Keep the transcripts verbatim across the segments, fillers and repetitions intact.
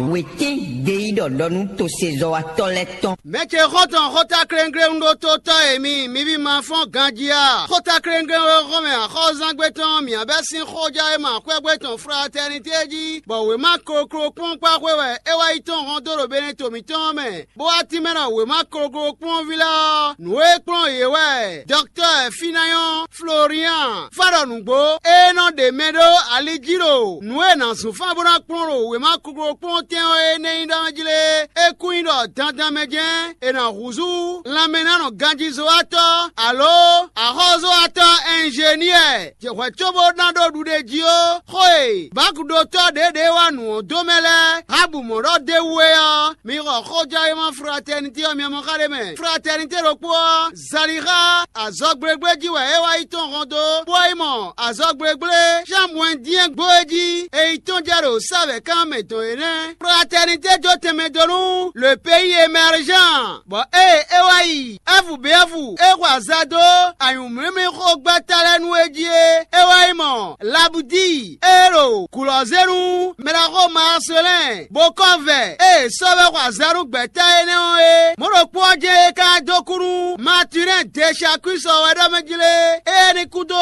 Wětín ɖe yí ɖɔ ɖɔ nú tosezɔ́watɔ́ lɛ́ɛ tɔn. Mɛ ce xɔ́ntɔn xɔ́ta kléŋkléŋ ɖó tó tɔ́ e mi, mi ví ma fɔ́n ganjí a? Xɔ́ta kléŋkléŋ e xɔ́n mɛ axɔ́zángbé tɔn mǐ bɛ́ sín xɔjá e ma xwɛ́gbé tɔn fratɛ́nitɛ́ jí, bɔ wěma kokló kpɔ́n kpá xwé wɛ é wá yi tɔ́n hɔn dó ɖo Beneto mǐtɔn mɛ, bó wá tínmɛ ɖɔ wěma kokló kpɔ́n ví lɛ́ɛ ɔ́, nǔ e kplɔ́n yě wɛ. Dɔktɔ́ Finayɔn Florian fá ɖɔ nǔgbó e nɔ ɖe mɛ ɖó ali jí ɖo nǔ e nǎ zun fán bó ná kplɔ́n ɖo wěma kokló kpɔ́n tɛn ɔ́ énɛ́ nyí ɖɔ jí lé. É kún nyí ɖɔ dandan mɛ jɛ́n è nǎ húzú lanmɛnánɔ ganjízɔ́watɔ́ alo axɔ́zɔ́watɔ́ ɛnzeniɛ hwɛ̌ cóbó ná ɖó ɖuɖéjí ó. Xó e Bákudótɔ́ ɖěɖě wa nǔ ɔ́ dó mɛ lɛ́ɛ Habu mɔ̌ ɖɔ d'é wú é ɔ́, mi xɔ xójɔ́wéma fratɛnitɛ́ ɔ́ mi mɔ xá ɖé mɛ. Fratɛnitɛ́ ɖokpó ɔ́, Zalixa azɔgblégblé jí wɛ é wá yi tɔn hɔn dó, bó wá yi mɔ azɔgblégblé Xanmuɛ́ndiɛ́n gbó é jí, è yi tɔ́n jɛ ɖo sávɛ̌kan mɛ dɔn é nɛ́. Fratɛnitɛ́ jó tɛnmɛ dó nú le pays émergent, bɔ ée é wá yi Ɛ́fu bǐ Ɛ́fu é xɔ azǎ dó anyǔmlímlí xógbɛ́ta lɛ́ɛ nú é jí é, é wá yi mɔ Labudíi e ɖo gǔlɔ́zénu mɛɖaxó Marselɛ́n bó kɔ́ vɛ e è sɔ́ vɛ́ xɔ azǎn nú gbɛ̌ta énɛ́ ɔ́ é. Mɔ̌ ɖokpó ɔ́ jɛ́n é ka dó kú nú Matilɛ́n Deshakúsi ɔ́ wɛ ɖɔ mɛ jí lé, éyɛ́ ní kúdó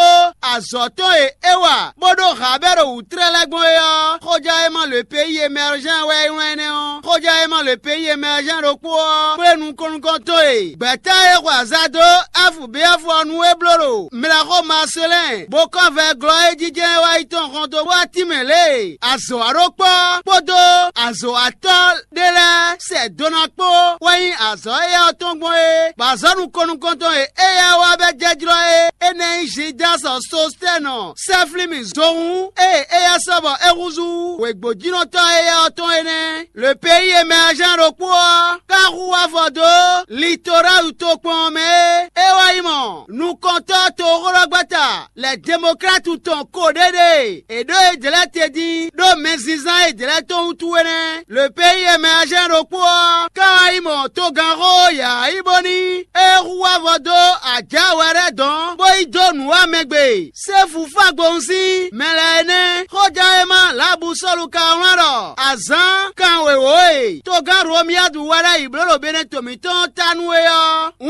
azɔ̌ tɔn e é wa bó ɖó Habɛ́lu wǔtlɛ́ lɛ́ɛ gbɔn é ɔ́, xójá e ma le peyi emɛrzɛ́n wɛ é wlán énɛ́ ɔ́. Xójá e ma le peyi emɛrzɛ́n ɖokpó ɔ́ kplé nukɔn nukɔn tɔn e gbɛ̌ta e xwe azǎn dó Ɛ́fu bǐ Ɛ́fu ɔ́ nu é bló ɖo mlɛxó Marselɛ́n, bó kɔ́ vɛ glɔ́ e jijɛ wá yi tɔn hɔn dó wá tínmɛ lě e azɔ̌ wa ɖó kpɔ́ kpódó azɔ̌ wa tɔ́ ɖé lɛ́ɛ sɛ dona kpó wɛ nyí azɔ̌ éyɛ́ ɔ́ tɔn gbɔn é, bɔ azɔ̌ nukɔn nukɔntɔn e éyɛ́ wá bɛ́ jɛ́jlɔ́ é, énɛ́ nyí Zidásɔ Sostɛ́nɔ, sɛ́flí mì zohún e éyɛ́ sɔ́ bɔ é húzú wěgbójínɔtɔ́ éyɛ́ ɔ́ tɔn é nɛ́. Le peyi e mɛ Azán ɖokpó ɔ́ ka hu afɔ dó Litorali tokpɔn ɔ́ mɛ é, é wá yi mɔ nukɔntɔ́ toxóɖɔgbɛ́ta lɛ Demoklátu tɔn ko ɖéɖée è ɖǒ yědɛɛ te dín ɖó mɛzínzán yědɛɛ tɔn wútu é nɛ́. Le peyi e mɛ Azán ɖokpó ɔ́ ka wá yi mɔ togánxó Yaayíboni e hu wá vɔ dó ajǎ wɛ lɛ́ɛ dɔn bó yi dó nǔ wá mɛ gbe. Sɛ́fu fá gbowun sín mɛ lɛ́ɛ é nɛ́. Xójánwéma Labusɔ́lu ka wlán ɖɔ azǎn kan wěwó e togán Romiyadu wá ɖ'ayǐ bló ɖo Benɛto mǐtɔn ɔ́ ta nú é ɔ́, un